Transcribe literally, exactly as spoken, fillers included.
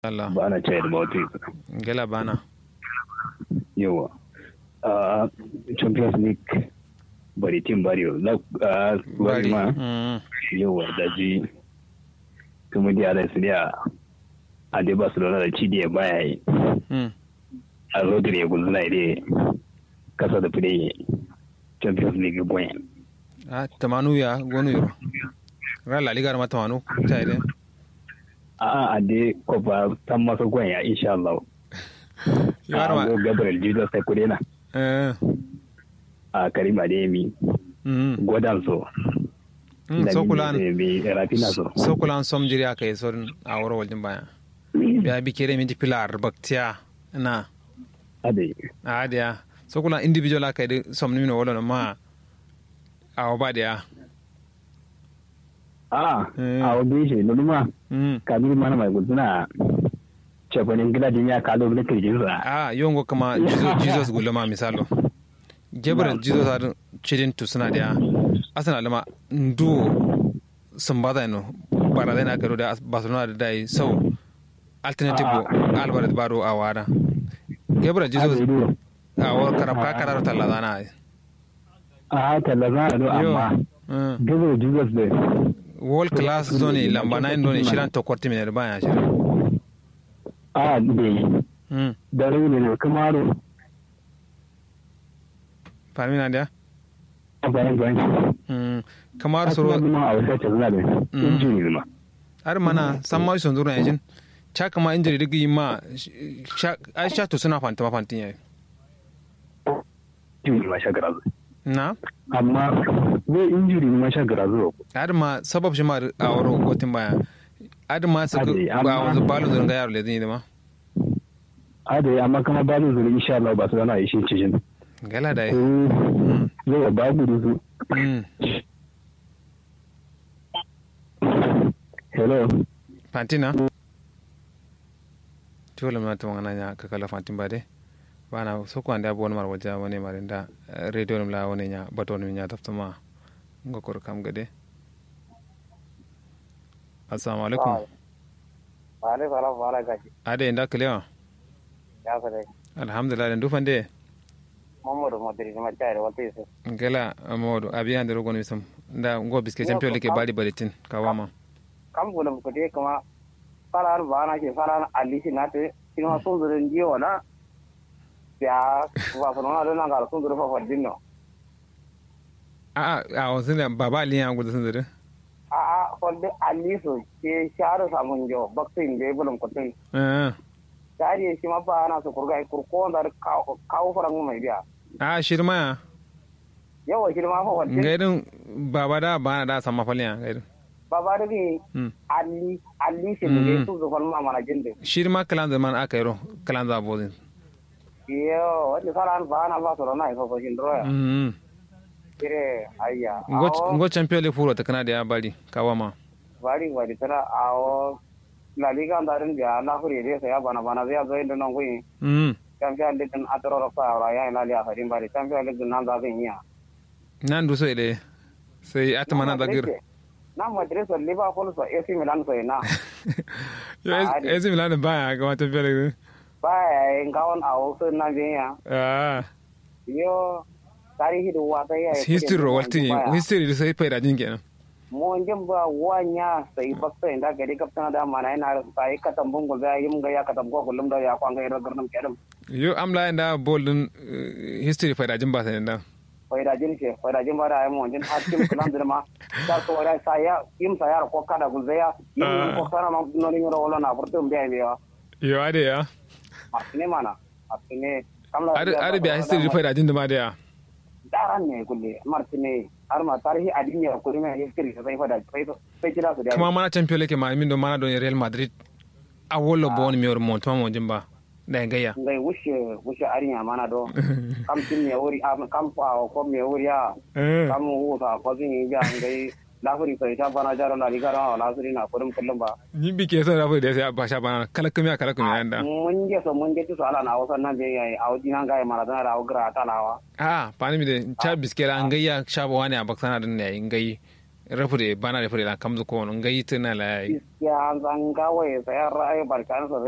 Allah. Bana chai da bauti. Gela bana. Yawa. Ah, Champions League bari team bari yo. La, ah, bari ma. Yawa, da ji. Kuma dia da su dia. A de Barcelona da ci dia baya yi. A Rodri ya gulzuna ya de. Kasa da fide yi. Champions League gwen. A tamanu ya gonu yoro. Ra La Liga ma tamanu. Chai de. A'a, ande kofa tamma so goya insha Allah. Yaro ma. Go Gabriel Jesus sai kudena. Eh. A Karima de mi. Mm. Godan so. Mm, so kulan mi Rafinha so. So kulan som jiri aka yi so a woro waljin baya. Biya bi kere minti pilar baktiya na. Ade. Ade ya. So kulan individual aka yi som ni mino wolo ma. Awo ba de ya. A'a, awo be she nonuma. Kabiru mana mai gultuna. Cefanin gila dimiya kalo ne kirjin sa. A yongo kama Jesus, Jesus guluma misalo. Gabriel Jesus adin cidin tusuna dia. Asana lama nduwo. Sumbaza no. Bara zai na karo da Barcelona da dai sau. Alternative Alvarez baro a wada. Gabriel Jesus. Awo karabka kararo tallazana. A tallazana do amma. Gabriel Jesus de. World class zone lamba nine zone shiran tokorti mine baya shiran. A de. Dare ne kamaro. Famina dia. Bayan bayan. Kamar soro ma a wasa tallazana de. Injini ma. Har mana samma son zuru yajin. Chakma injiri digi ma. Ai sha to suna fantima fantin yayi. Injuri ma sha garazu. Na. Amma zai injuri ma sha garazu. Adama sabab shi ma a wuro gotin baya. Adama su ba wanzu balu zurun ga yaro lezin yi dama. Adai amma kama balu zurun insha Allah ba su zana ishin cijin. Gala da yi. Zai ba gudu su. Hello. Pantina. Tiwolum na tumangana nya kakala fantin bade. Bana soko ande abu wani mara waja wani mara nda. Radio num la wani nya bato num nya taftuma. Ngo kor kam gade. Assalamu alaikum. Wa alaikum salam wa alaikum. Ade nda kalewa. Ya sare. Alhamdulillah ndu fande. Mamodu modiri ma chai da wata yusuf. Ngela. Mamodu abi ande rogon yusuf. Nda ngo biske champion like bari bari tin kawama. Kam gulum kude kuma. Fala har ba na ke fala na ali shi na te. Shi ma sun zuru ndiyo wala. Ya. Ba fala na don na ga sun zuru fa fadin no. A'a, a wasu ne baba ali ya gudu sun zuru. A'a, fadin ali so ke sharo samun jo baksin be gulum kutun. Tari shi ma ba na su kurga kurko da kawo faran mai biya. A shirma ya. Yawa shirma fa wacce. Ngai din baba da ba na da sama falin ya ngai din. Baba da bi. Ali ali shi ne su zufan ma mana jin din. Shirma kalan zaman aka yi ro kalan za bozin. Yo wani fara an ba na ba su rana ifo fashin droya. Kire ayya. Ngo champion le furo ta kana da ya bari kawa ma. Bari bari tana awo. La liga nda din biya na fure de sai ya bana bana zai zo inda nan guyi. Champion league din atoro rokko awra ya ina liya fadin bari champion league din nan za zan iya. Nan du so ide. Sai atama nan za gir. Na madrid so liverpool so ac milan so ina. Yo ac milan ba ya ga wata bere. Ba ya yin gawon awo so nan bin ya. Ah. Yo. Tarihi da wata ya history ro waltin. History da sai faida jin kenan. Monjin ba wanya sai baksa inda gari gabtana da mana yana sai katambun gulbe ya yim ga ya katambo kullum da ya kwanga ya garnam kedam. Yo amla inda bol din. History faida jin ba sai inda. Faida jin ce faida jin ba da ai monjin har tim kulan din ma. Ta so da sai ya yim sai ya ko kada gulbe ya yim ko sana ma noni ro wala na furtum be be ya. Yo ade ya. Masne mana. Masne. Kamla ade biya history faida jin da ma da ya. Daran ne kulle martine har ma tarihi adin ya kuri mai history sai fada sai sai kira su da kuma mana champion league ma min do mana don real madrid. A wolo bon mi wor monto mo jimba da gayya ngai wushe wushe arin ya mana do. Kam tin me wuri am kam fa ko me wuri ya kam wu fa ko zin ya ngai. Lafuri so ita bana jaro la liga rawa lasuri na kurum kullum ba. Ni bi ke so lafuri da sai ba sha bana kala kumiya kala kumiya da mun je so mun je tu so ala na wasan nan be yayi audi nan ga mara da rawa gra talawa. A fani mi de cha biskela ngai ya sha ba wani abaksana din yayi ngai. Rafu de bana de fure lan kamzu kono ngai tuna la yayi. Gaskiya hanza ngawo ye sai har ra'ayi barkan so sai